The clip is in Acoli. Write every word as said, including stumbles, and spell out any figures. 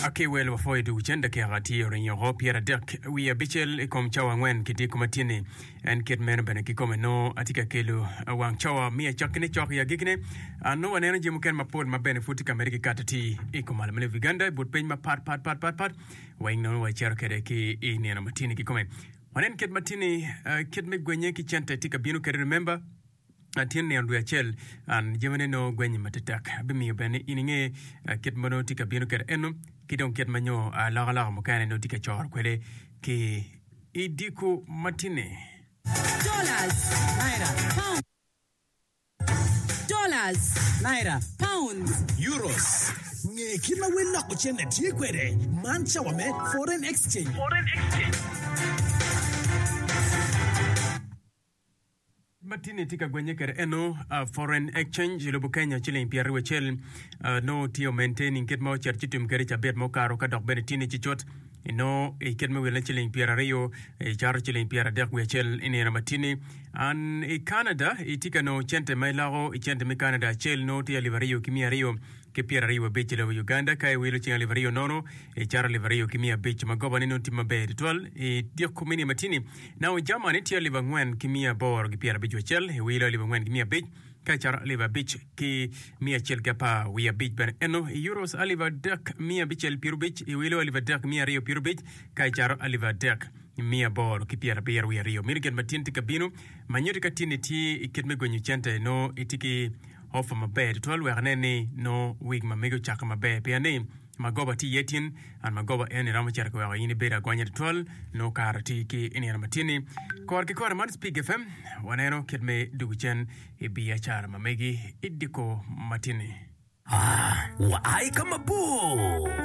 Aki wel wapwoyo dwogo cen dakika tye oringo pyeradek wiye abicel i kom cawa angwen ki dyeko ma tye-ni. En kit meno bene kikome nongo atye ka kelo wang cawa me acakkine cok i agikkine. Nongo waneno jami mukene mapol ma bene pud tye ka medde ki kato atir i kom malo me lobo Uganda i but piny mapat pat pat pat pat weng nongo wacito kwede ki i nino ma tye-ni kikome. Wanen kit ma tye-ni kit me gwenye ki cente tye ka bino kwede remember. Tyen nino dwe acel an jamine nongo gwenye matetek. Abimiyo bene ni in inge kit ma nongo tye ka bino kwede eno ki dong kit ma nyo alokaloka mukene nongo tye ka coro kwede ki i diko matini. Dollars, naira, pounds, dollars, naira, pounds. Euros. Nge kit ma wel loko cente tye kwede. Man cawa me Foreign Exchange. Ma tini tye ka gwenye kwede eno foreign exchange i lobo Kenya ciling pyeraryo acel nongo tye o maintaining kit ma ocito ci tim kwede cabit ma okato ka dok bene tini ci cut inongo i kit me wile ciling pyeraryo icato ciling pyeradek wiye acel i nino ma tini an i Canada itye ka nongo cente ma iloko i cente me Canada acel nongo tye alip aryo ki miya aryo ki pyeraryo abic i lobo Uganda ka iwilo cing alip aryo nono icato alip aryo ki miya abic ma goba ni nongo tye maber tutwal i dyeko me nino matini nongo Germany tye alip angwen ki miya aboro ki pyerabic acel iwilo alip angwen ki miya abic ka icato alip abic ki miya acel ki apar wiye abic bene eno i euros alip adek miya abicel pyerabic iwilo alip adek miya aryo pyerabic ka icato alip adek miya aboro ki pyerabiro wiye aryo meno gin ma tin tye ka bino ma nyuto ka tin itye i kit me gwenyo cente nongo itye ki Offa maber tutwal wek anen ni nongo wig ma megi ocakke maber pien ni magoba tye iye tin and magoba eni romo cito ki weko in ibedo agonya tutwal nongo kare tye ki inino ma tye ni kore ki kore man Spig FM waneno kit me dugu cen i biacara ma megi i diko ma tye ni. Aa, wa i ka mabor.